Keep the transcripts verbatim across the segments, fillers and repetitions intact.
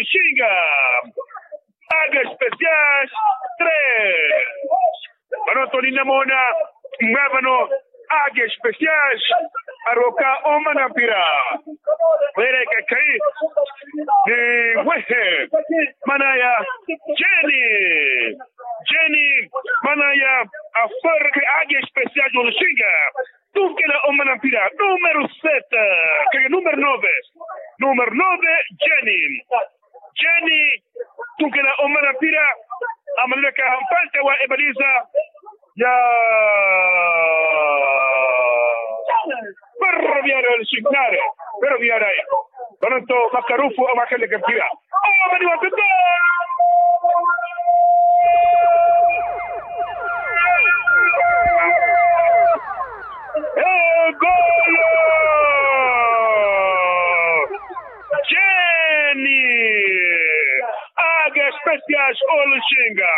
Xinga. Age especiais. Tres. Vano toni namoona. Mwa vano age especiais. Aroka omana mpira. Wera ekekhayi. Ni wehe. Manaya. Jeni. Jeni. Manaya. Aforke age especiais oluxinga. Tunkela omana mpira, numero sete, keke numero nove. Numero nove, Jeni. Jeni, tunkela omana mpira, amaleleka mpanta wa ebaliza ya Ferroviario del Signare, Ferroviario. Vano nto makarufu amwakeleke mpira. Omani wa mpira. Egolo! Jeni! Age especiais oluxinga.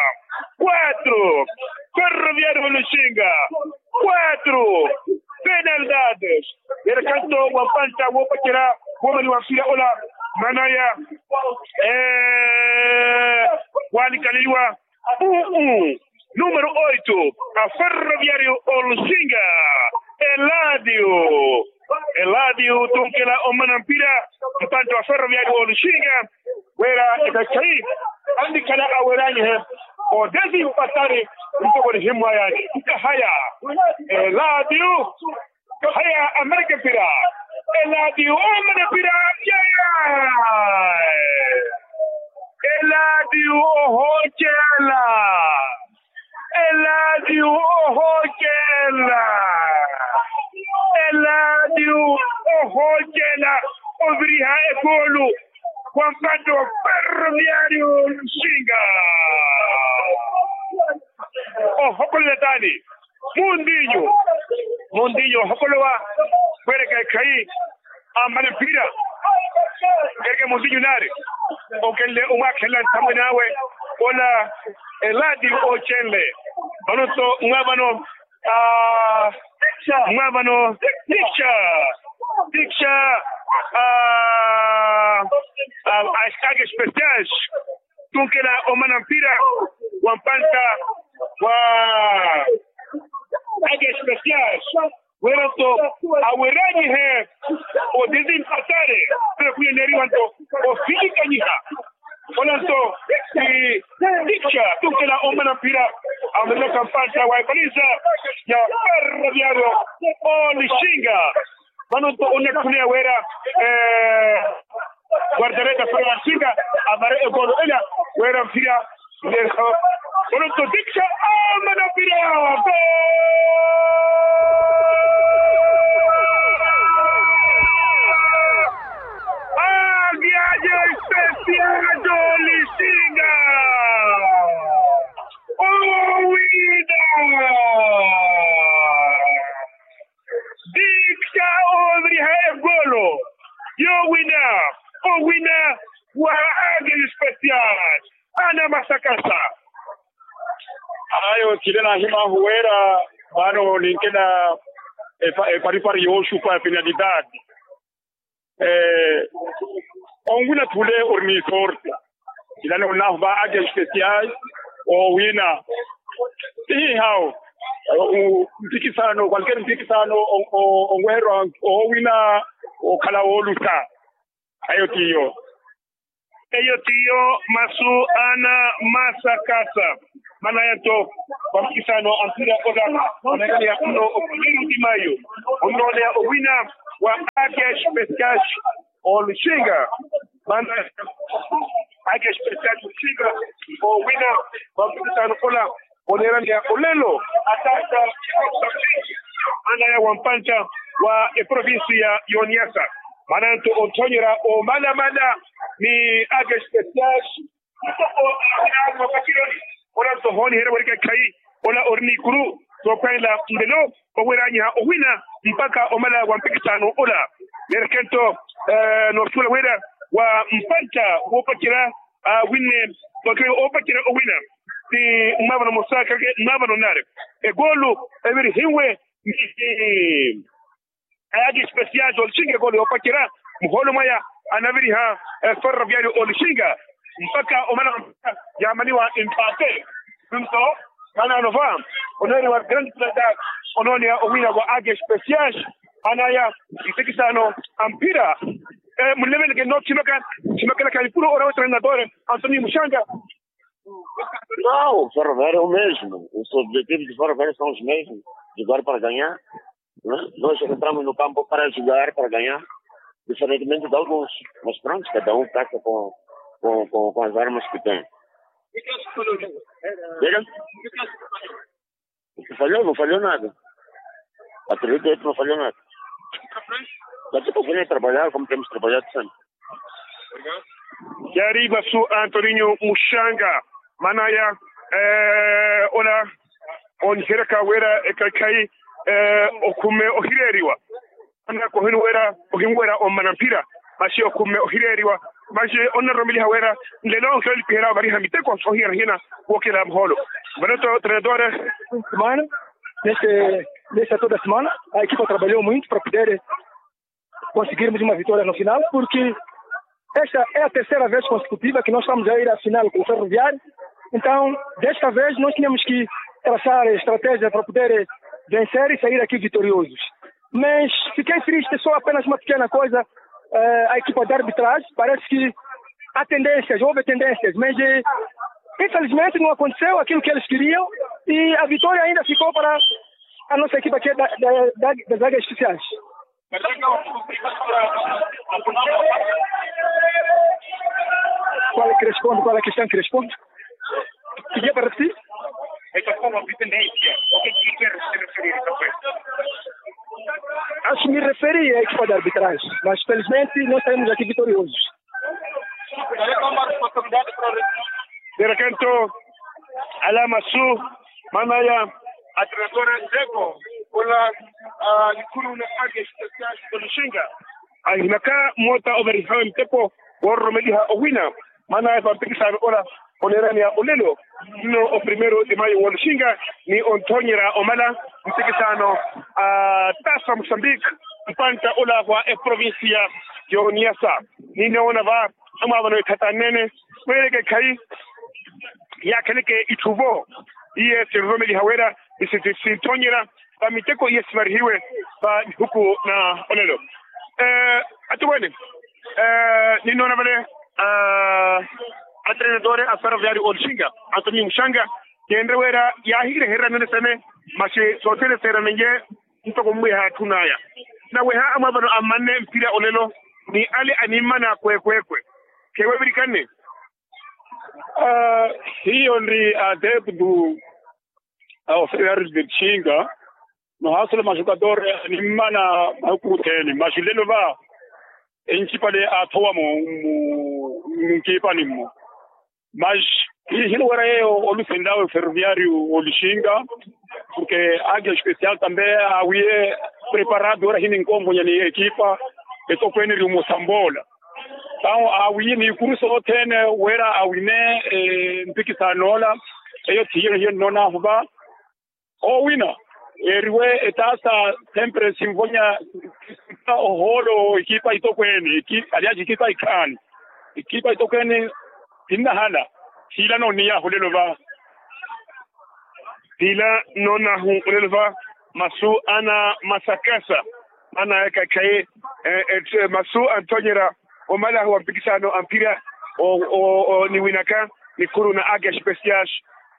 Quatro. Ferroviario oluxinga. Quatro. Penalidades. Yere kanto wa mpanta wopacela womani wa mpira ola. Manaya. Ee. Wanikaleliwa. Uu. Numero oito, a Ferroviario oluxinga. Eladio. Eladio tunkela omana mpira. Mpanta wa Ferroviario oluxinga. Wera ekakhayi. Andikhala aweranyihe. Odesi mpatari. Mpoko nihimwayani nkahaya. Eladio. Haya amareke mpira. Eladio omana mpira. Yaya. Eladio ohocela. Eladio ohocela. Eladio ohocela. Oviriha ekulu. Wa mpanta wa Ferroviario oluxinga. Ohokolela tani. Mundinyu. Mundinyu ohokolowa. Wereke ekhayi. Amale mpira. Wereke mundinyu nari. Okenle omwakhelela nthamwene awe. Ola. Eladi ocenle. Vano nto mwa vano. Mwa vano. Diksha. Diksha. Age especiais. Tunkela omana mpira wa mpanta wa age especiais. Wera nto aweranyihe. Odesi mpatari. Pero kuyeneriwa nto ofilikanyiha. Ola nto. Diksha tunkela omana mpira. Ameleka mpanta wa epaliza ya Ferroviario oluxinga. Vano nto onnatthuneya wera. Guardareta fala vaxinga. Avare egolo ela. Wera mpira. Vano nto diksha. Amana mpira. Agiajo espesial dolixinga. Owina. Diksha oviriha egolo. Yowina. Owina. Wa age espesial. Ana masakasa. Ayo tile nahimaahu wera. Vano ninkela. Eparipari yoxupa ya penalidade. Onwina thule ori ni sorte. Ilani onnahu va age especiais. Owina. Ihawo. Mpikisano kwalker mpikisano. Onweherwa owina. Okhala wolusa. Ayo tiyo. Eyo tiyo masu ana masakasa. Manaya nto. Vampikisano ampira ola. Onakaniya kuno okomeru imayo. Onnooneya owina. Wa age especiais. Oluxinga. Manaya. Age especiais oluxinga. Owina. Vampikisano ola. Oneeraniya olelo. Atata. Manaya wa mpanta wa eprovincia y'oniasa. Manaya nto othoonyerya omalamala. Ni age especiais. Ola nto hooniherya werika ekhayi. Ola ori n'ikuru. Sookhwanela nlelo. Oweranyiha owina mpakha omala wa mpikisano ola. Neereke nto. Noosuwela wira wa mpanta woopacerya. Awinne. Vakire oopacerya owina. Ni mmavano mosaakake mmavano nnaari. Egoolu evirihiwe. Ni age especiais olixinga egoolu yoopacerya. Muhoolo mwaya. Anaviriha eferroviario olixinga mpakha omana yaamaniwa empate. Nto manaano va oneeriwa grande plata onooneya owina wa age especial. Anaya mpikisano a mphira. Muleveleke nno thimaka thimakela khanikulu orawa trenadore antonio muxanga. Nau ferroviario o mesmo, os objetivos de ferroviario são os mesmos, jogar para ganhar. Nós entramos no campo para jogar para ganhar, diferentemente de alguns. Mas pronto, cada um caça com com com as armas que tem. Diga. Não falhou, não falhou nada. Acredito eu que não falhou nada. Daqui para frente trabalhar como temos trabalhado sempre. Yari masu antoninho muxanga manaya ola oniheraka wira ekhaikhayi okhume ohireeriwa. Anaka ohinwera ohinwera ommana mphira maxi okhumme ohireeriwa. Maxi onnaroromeliha wira nlelo onkhilolipiherya ovariha miteko ohiyana-hiyana wookela muhoolo. Vano to trenadore. Semana neste nesta toda semana a equipa trabalhou muito para poder conseguirmos uma vitória no final porque esta é a terceira vez consecutiva que nós estamos a ir à final com o ferroviário. Então desta vez nós tínhamos que traçar estratégia para poder vencer e sair aqui vitoriosos. Mas fiquei triste só apenas uma pequena coisa. A equipa de arbitragem parece que há tendências houve tendências mas infelizmente não aconteceu aquilo que eles queriam. E a vitória ainda ficou para a nossa equipa aqui das águias especiais. Qual é que responde qual é a questão que responde? Queria para ti. Acho me referi a equipa de arbitragem mas felizmente nós saímos aqui vitoriosos. Derakanto ala masu manaya atrenadora seko ola nikuru na age especial. Oluxinga ahinaka moota ovarihawe miteko woororomeliha owina manaya vampikisano ola oneeraneya olelo nno o primeiro de maio woluxinga ni onthoonyerya omala mpikisano a tasa mosambik mpantta ola wa eprovincia y'oniasa. Ninoona va amwaavano etthatanene weereke khayi yaakheleke itthu vo iye sinroromeliha wira sinthoonyerya va miteko iye sivarihiwe va nihuku na olelo. Atuwene ninnoona vale atrenadore a ferroviario olixinga antonio muxanga keenre wira yaahireherya nene sene maxi sothene seeranenye ntoko mmwiha atthun'aya naweha amwaavano ammanne mpira olelo ni ale animmana kwekwekwe. Khewevirikane hiyo nri adeptu a oferiari de txinga nohaasula maxukatore animmana mahuku othene maxi lelo va encipale aathowa-mo mmunkipani-mo. Maxi hinuwera yeeyo olusenlawe ferroviario olixinga porke age especial tambe awiye preparado wira hininkomponya ni ekipa etokweene eri omosamboola. Tao awiye ni ikuruso othene wira awine mpikisano ola eyo thiyo hiyo nnoon'ahu va owina eeriwe etaasa sempre simvonya ohoolo ekipa itokweene aliaci ekipa ikhaani ekipa itokweene tinnahala. Siila nooniy'ahu lelo va siila noon'ahu lelo va masu ana masakasa ana ekakhayi masu anthonyerya omalaho wa mpikisano a mphira niwinaka nikhuru na age especial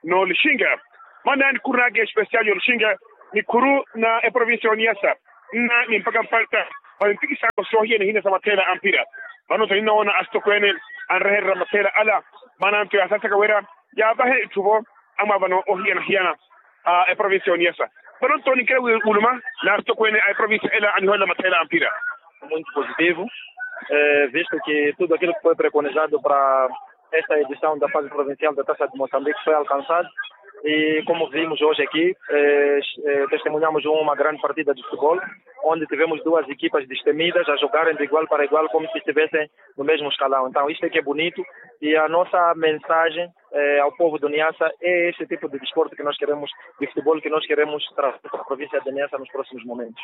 n'olixinga. Manaani khuru na age especial y'olixinga nikhuru na eprovincia y'oniyasa nna ni mpakha mpalta va mpikisano soohiyana-hiyana sa matheela a mphira. Vano-tho ninnoona asitokweene anrehererya matheela ala manaani-tho yaasasaka wira yaavahe itthu vo amwaavano ohiyana-hiyana a eprovincia y'oniyasa. Vano-tho ninkela wuluma na asitokweene a eprovincia ela aniholela matheela a mphira. Muito positivo visto que tudo aquilo que foi preconizado para esta edição da fase provincial da taça de moçambique foi alcançado. E como vimos hoje aqui testemunhamos uma grande partida de futebol onde tivemos duas equipas destemidas a jogarem de igual para igual como se estivessem no mesmo escalão. Então isto é que é bonito e a nossa mensagem ao povo do niassa é este tipo de desporto que nós queremos de futebol que nós queremos trazer para a província de niassa nos próximos momentos.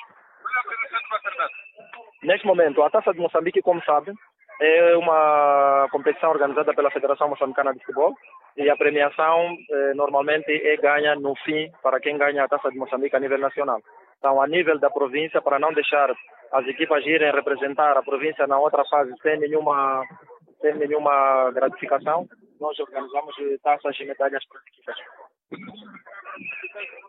Neste momento a taça de moçambique como sabem É uma competição organizada pela federação moçambicana de futebol. E a premiação normalmente é ganha no fim para quem ganha a taça de moçambique a nível nacional. Então a nível da província, para não deixar as equipas irem representar a província na outra fase sem nenhuma sem nenhuma gratificação, nós organizamos taças e medalhas para as equipas.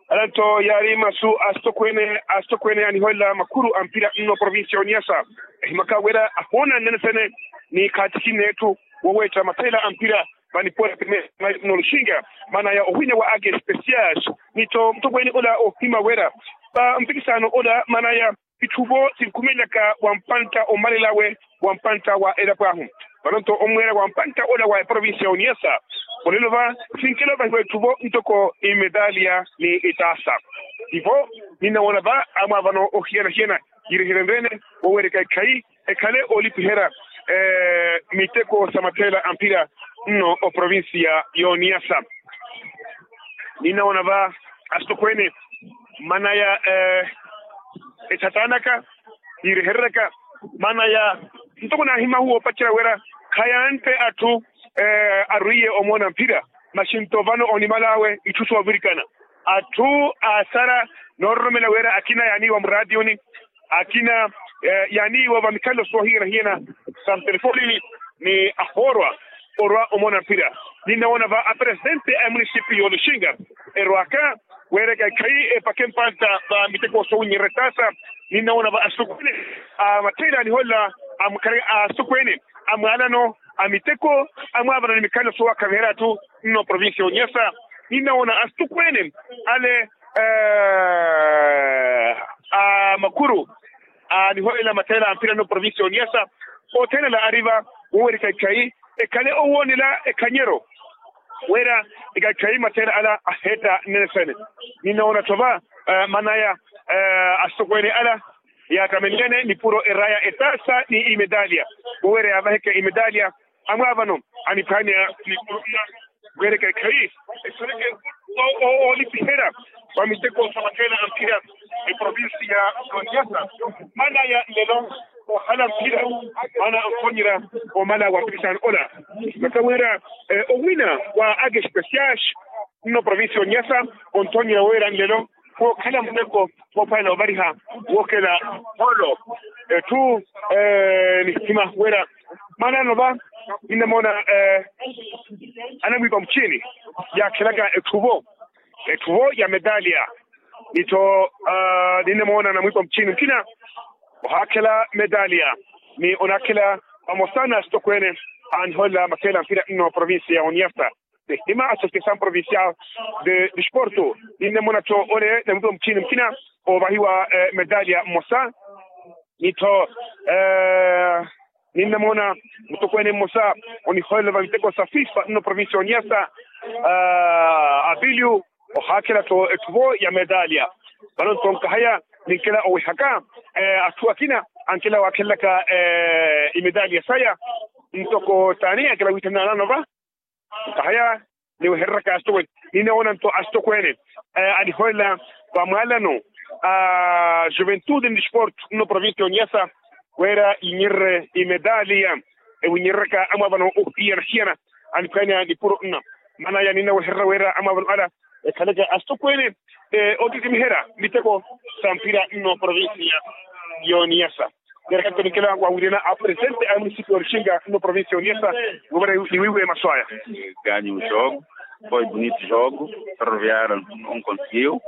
Alanto yaari masu asitokwene asitokwene aniholela makuru a mpira nno provincia oniasa. Ehimaka wera ahoona nnene sene ni khaatikinne etthu wowetta mathela a mpira. Vanipora primera noluxinga maana ya ohwina wa ake especias nitho mutokweni ola ohima wera va mpikisano ola maana ya itthu vo sinkhumelaka wa mpantta omalelawe wa mpantta wa elapo ahu. Vanonto omweera wa mpantta ola wa eprovincia ya oniasa olelo va sinkela ovahiwa itthu vo ntoko imedalia ni itaasa. Ivo ninnawoona va amwaavano ohiyana-hiyana yireherenrene woweereka ekhayi ekhale olipiherya miteko sa matheela a mphira nno oprovincia ya oniasa. Ninnawoona va asitokweene manaya ethatanaka yiirehereryaka manaya ntoko naahimahuwa opacerya wira khayantte atthu arwiiye omoona mphira. Maxinto vano onimal'awe itthu soovirikana atthu aasara noororomela wira akina yaaniiwa muraatiyuni akina yaaniiwa vamikhalelo soohiyana-hiyana sa mutelefonini ni ahoorwa orwa omoona mphira. Ninnawoona va apresidente a emunisipiyu y'oluxinga erwaka weereka ekhayi epakhe mpantta va miteko soowinyererya etaasa. Ninnawoona va asukweene a mattheela aniholela a mukhaleke a asukweene a mwaalano a miteko amwaavano ni mikhalelo soowakhaviherya atthu nno provincia ya oniasa. Ninnawoona asukweene ale a makuru aniholela matheela a mphira nno provincia ya oniasa othene ala ari va wowerika ekhayi ekhale owoonela ekhanyero wira ekhayi matheela ala aheetta nnene sene. Ninnawoona-tho va manaya asukweene ala yaattamellene nipuro eraya etaasa ni imedalia wowera yaavaheke imedalia amwaavano aniphwanya nipuro nna weereka ekhayi esoleke oolipiherya va miteko sa matheela a mphira eprovincia ya oniasa. Manaya nlelo ohala mphira mana onthonyerya omala wa mpikisano ola maka wira owina wa ake especias nno provincia ya oniasa onthonyerya wira nlelo wookhala muteko woophwanela ovariha wookela holo etthu nihima wira manano va ninnamoona anamwiipa muciini yaakhelaka etthu vo etthu vo ya medalia nitho ninnamoona anamwiipa muciini mukina ohaakhela medalia ni onaakhela vamosa na asitokweene aniholela matheela a mphira nno provincia ya oniasa. Nihima associação provincial de desporto ninnamoona-tho ole namwiipa muciini mukina oovahiwa medalia mmosa nitho ninnamoona mutokweene mmosa oniholela va miteko sa fifa nno provincia ya oniasa apiliu ohaakhela-tho etthu vo ya medalia. Vano-tho nkahaya ninkela owehaka atthu akina ankela waakhelelaka imedalia saya ntoko taani ankela wiithananano va nkahaya niwehereryaka asitokweene. Ninnawoona-tho asitokweene aniholela va mwaalano a juventude ni desporto nno provincia ya oniasa wira yinyererye imedalia ewinyereryaka amwaavano ohiyana-hiyana aniphwanya nipuro nna manaya ninnawehererya wira amwaavano ala ekhaleke asitokweene oottittimiherya miteko sa mphira nno provincia ya oniasa. Neerekha ntonikhela waawiriyana apresente a munisipio ya oruxinga nno provincia ya oniasa. Wovara niwiiwe masu aya. Ganho o jogo, foi bonito jogo. Ferroviário não conseguiu.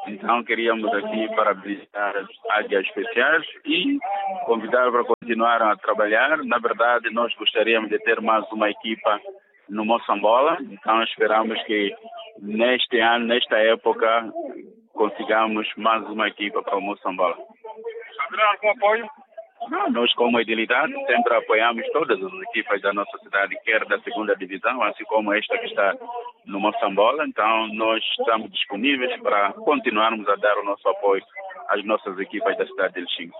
Então queríamos aqui parabenizar as águias especiais e convidar para continuar a trabalhar. Na verdade nós gostaríamos de ter mais uma equipa no Moçambola. Então esperamos que neste ano, nesta época, consigamos mais uma equipa para o Moçambola. Haverá algum apoio? Não, nós como idilidade sempre apoiamos todas as equipas da nossa cidade, quer da segunda divisão, assim como esta que está no Moçambola. Então nós estamos disponíveis para continuarmos a dar o nosso apoio. As nossas equipas da cidade de lixinga.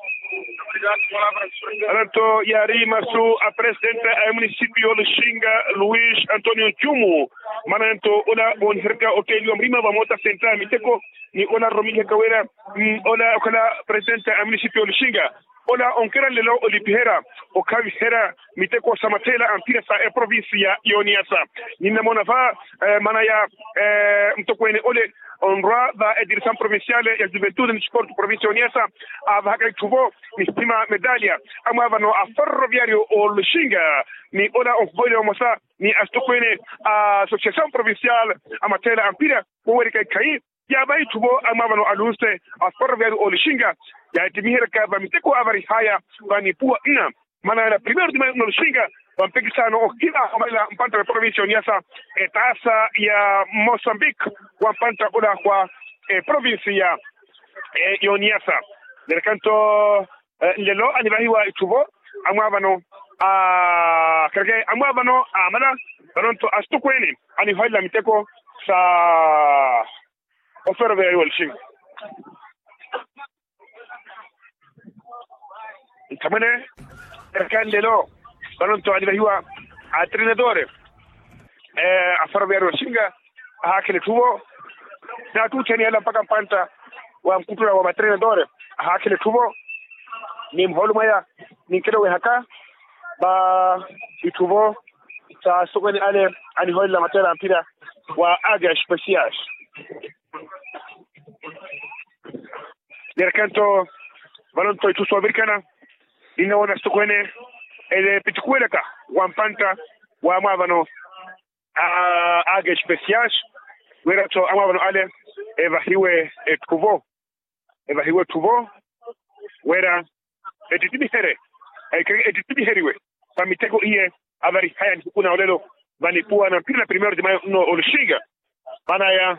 Anto yaari masu a presidente a municipio lixinga, luis antonio ncumu. Mananto ola vooniherya otteliwa murima vamoota senta miteko, ni ola romilihaka wira ola okhala presidente a municipio lixinga. Ola onkera nlelo olipiherya okhaviherya miteko sa matheela a mpira sa eprovincia y'oniasa. Ninnamoona va maana ya mutokweene ole onrwa va ediresaw provinciale ya juventude ni sportu provincia y'oniasa, avahaka itthuvo ni sima medalia amwaavano a ferroviario olixinga, ni ola onhoyela omosa ni asitokweene a associasaw provinciale a matheela a mpira. Wowerika ikhayi yaavaha itthuvo amwaavano a lunse a ferroviario olixinga, yaattimihiyeraka va miteko avarihaya va nipuwa nna. Maana ela primeiro de maio nna olixinga va mpikisano ohiva omalela mpantta wa eprovincia y'oniasa, etaasa ya mosambik wa mpantta ola wa eprovincia y'oniasa. Nerekanto nlelo anivahiwa itthuvo amwaavano a kereke amwaavano amala. Vanonto asitokweene aniholela miteko sa oferoveya yuwa lixinga. Nthamwene erekani lelo vanonto anivahiwa atrenadore aferoveya yuwa lixinga. Ahaakhela etthuvo naattuuttheni yala mpakha mpantta wa nkuttula wa matrenadore. Ahaakhela etthuvo ni muhoolo mwaya ninkelo wehaka va itthuvo sa asitokweene ale aniholela matteela a mpira wa age especiais. Nerekanto vanonto itthu soovirikana ninnawoona asitokweene ele epitikuwelaka wa mpantta wa amwaavano a age especiais. Wira-tho amwaavano ale evahiwe etthuvo evahiwe etthuvo wira ettittimiherye ettittimiheryiwe va miteko iye avarihaya nihiku na olelo va nipuwa na mpira na primeiro de maio nno olixinga. Maana ya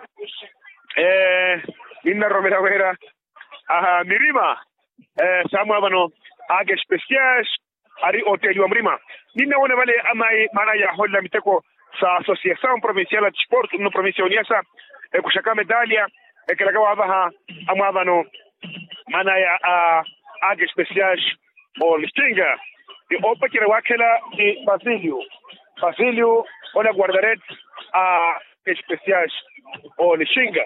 ninnaroromela wira aha mirima sa amwaavano age especiais ari otteeliwa murima. Ninnawoona vale amayi maana yaaholela miteko sa associasaw provinciale a desportu nno provincia y'oniasa ekuxaka medalia ekelaka waavaha amwaavano maana ya a age especiais olixinga. Ni oopacerya waakhela ni basilio basilio ola guardaret a especiais olixinga.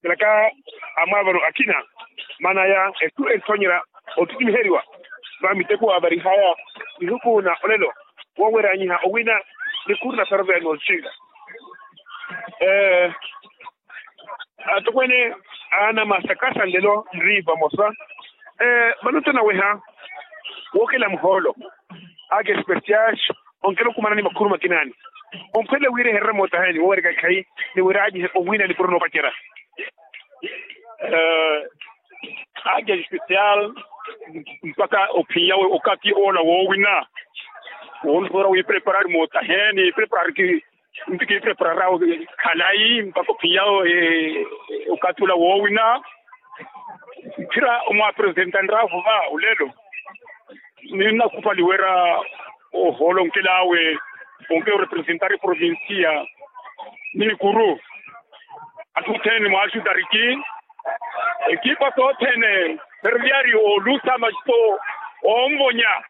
Kelaka amwaavano akina maana ya ettu enthoonyerya ottittimiheryiwa va miteko avarihaya nihiku na olelo woweranyiha owina ni khuru na ferroviario olixinga. Atokweene anamasakasa nlelo nri vamosa vano tanaweha wookela muhoolo ake especiais onkela okumana ni makhuru makinaani. Omphwelela wira eherere mootaheni wowereka ikhayi ni wira anyihe owina nikuru noopacerya. Ake especial mpakha ophiyawe okati ola woowina. Woonsoora wipreparari mootaheni preparari ki nti kiprepararawo khalayi mpakha ophiyawo okati ola woowina. Mphira omwapresentanrahu va olelo ninnakhupali wira ohoolonkelawe onke orepresentari provincia. Nikuru athu othene mwaaxutariki ekipa sothene ferviari olusa maxito onvonya.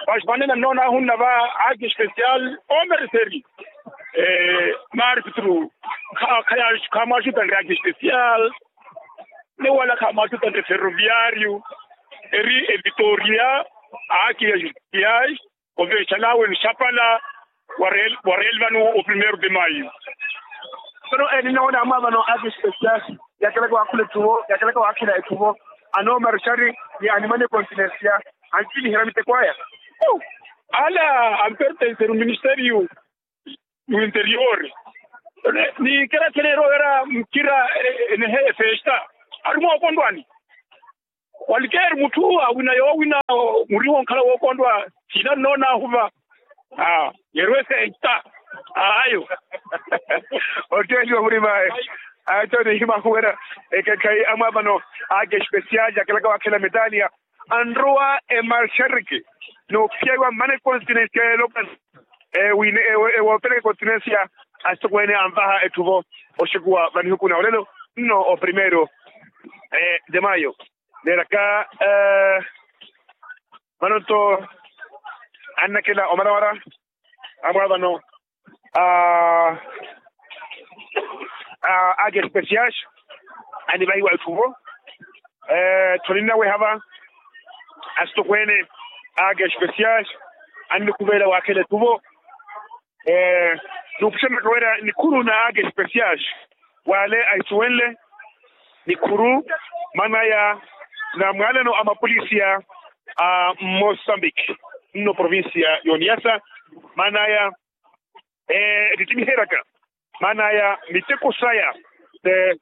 Vaxi vanene nnoonahunna va ake especial omereseri marpitru khamwaxutanre ake especial. Ni wala khamwaxutanre ferroviario eri evitoria ake especial. Ovexalawe nixapala wareel vano o primeiro de maio. Vano eninnawoona amwaavano ake especial yakelaka waakhula etthuvo yakelaka waakhila etthuvo. Anoomarexari ni animane continencia anttimiherya miteko aya. Ala ampertenseru ministerio yu interior. Ni kerathene erowera mukira enehe efesta ari mwookondwani. Walikeeri mutthu awina yoowina muri wonkhala wookondwa. Thina nnoonahu va yeerwe senta ayo. Otteeliwa murimaye ato nihimahuwera ekekhayi amwaavano ake especial yakelaka waakhela medalia anrowa emarxeriki noophiyayiwa mmana econtinensia yeelopani. Ewoopereka econtinensia asitokweene anvaha etthuvo oxekuwa vanihuku na olelo nno o primeiro. De mayo neeraka vano-nto annakela omaramara amwaavano a a age especial annivahiwa etthu vo. Etthu ninnaweha va asitokweene a age especial annikhuvelela waakhela etthu vo. Nuupuxanaka wira nikhuru na age especial wale ahisuwenle nikhuru manaya na mwaalano a mapolisiya a mosambiki nno provincia y'oniyasa manaya ettittimiheraka manaya miteko saya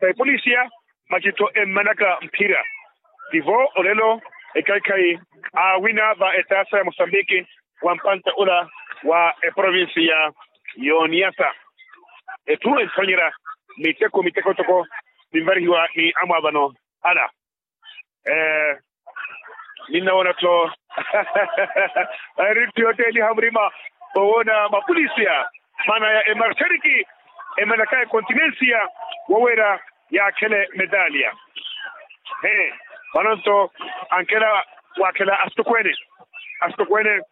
sa epolisiya masi-tho emmanaka mphira. Tivo olelo ekhayi-khayi aawina va etaasa ya mosambiki wa mpantta ula wa eprovincia y'oniyasa. Etthu entthonyerya miteko miteko toko ninvarihiwa ni amwaavano ala. Ninnawoona-tho eri etthu yootteliha murima owoona mapolisiya manaya emarxeriki emanaka ekontinensiya wowera yaakhele medaliya. Vano-nto ankela waakhela asitokweene asitokweene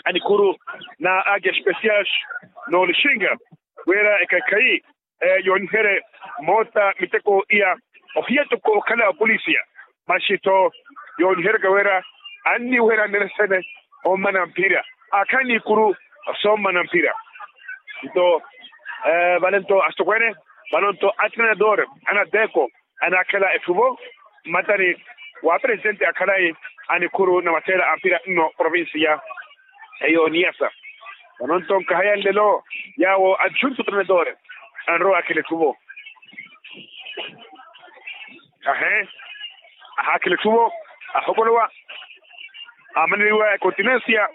anikhuru na age especial n'olixinga wira ekhayi-khayi yooniherye moota miteko iya ohiya toko okhala apolisiya masi-tho yooniheryaka wira anniweherya nneene sene ommana mphira aakhala n'ikuru soommana mphira. Nto vale-nto asitokweene vano-nto atrenador anateko anaakhela etthu vo mmatani wa apresitenti akhalayi anikhuru na matheela a mphira nno provincia y'oniyasa. Vano-nto nkahaya nlelo yaawo anjuntu trenador anrowa akhela etthu vo. Ahe ahaakhela etthu vo ahopolowa amaneriwa ekontinensiya.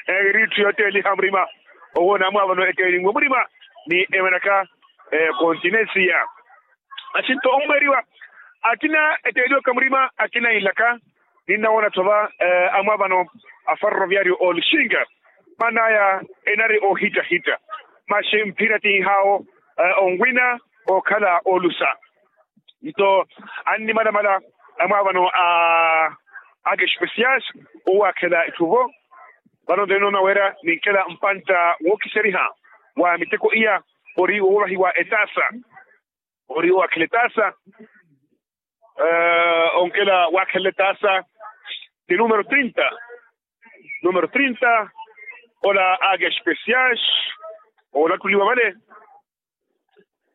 Eri etthu yootteliha murima owoona amwaavano ettelinwe murima ni emanaka ekontinensiya. Axinto ommweeriwa akina etteeliwaka murima akina inlaka ninnawoona-tho va amwaavano a ferroviario olixinga manaya enari ohittahitta masi mphira ti nhaawo onwina okhala olusa. Nto annimalamala amwaavano a age especial owaakhela etthu vo. Vano-nto ninoona wira ninkela mpantta wookiseriha wa miteko iya ori wovahiwa etaasa ori owaakhela etaasa onkela waakhelela etaasa ti numero trinta numero trinta ola age especial olattuliwa vale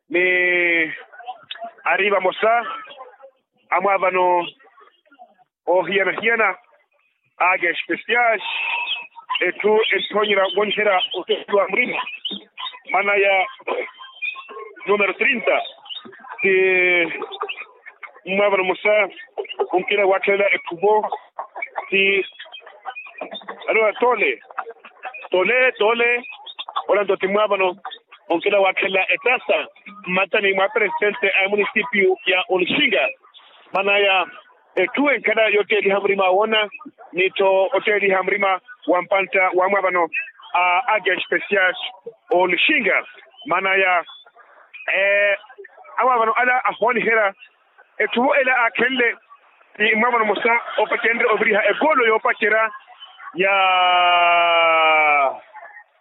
ni ari vamosa amwaavano oohiyana-hiyana age especial etthu entthonyerya woniherya oteeliwa murima manaya numero trinta ti mmwaavano mmosa onkela waakhelela etthu vo ti alowa tole tole tole ola nto ti mmwaavano onkela waakhelela etaasa mmatani mwa apresitente a emunisipio ya olixinga manaya etthu enkhala yotteeliha murima woona ni-tho otteeliha murima wa mpantta wa mwaavano a age especial olixinga manaya amwaavano ala ahooniherya etthu vo ela aakhenle ti mwaavano mmosa opacenrye oviriha egoolo yoopacerya ya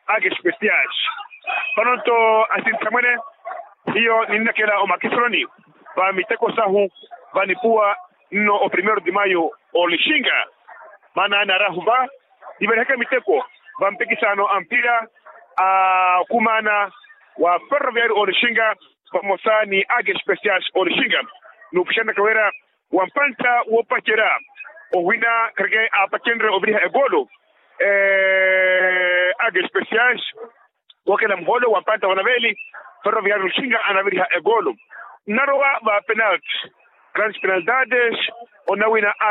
age especial. Vano-nto asinthamwene hiyo ninnakela omakisuloni va miteko sahu va nipuwa nno o primero de mayo olixinga maana naarahu va niverihaka miteko va mpikisano a mpira a okumaana wa ferroviario olixinga vamosa ni age especial olixinga nuupuxanaka wira wa mpantta woopacerya owina khareke aapacenrye oviriha egoolo age especial wookela muhoolo wa mpantta wa naveeli ferroviario olixinga anaviriha egoolo nnarowa va penalti grandes penalidades onawina age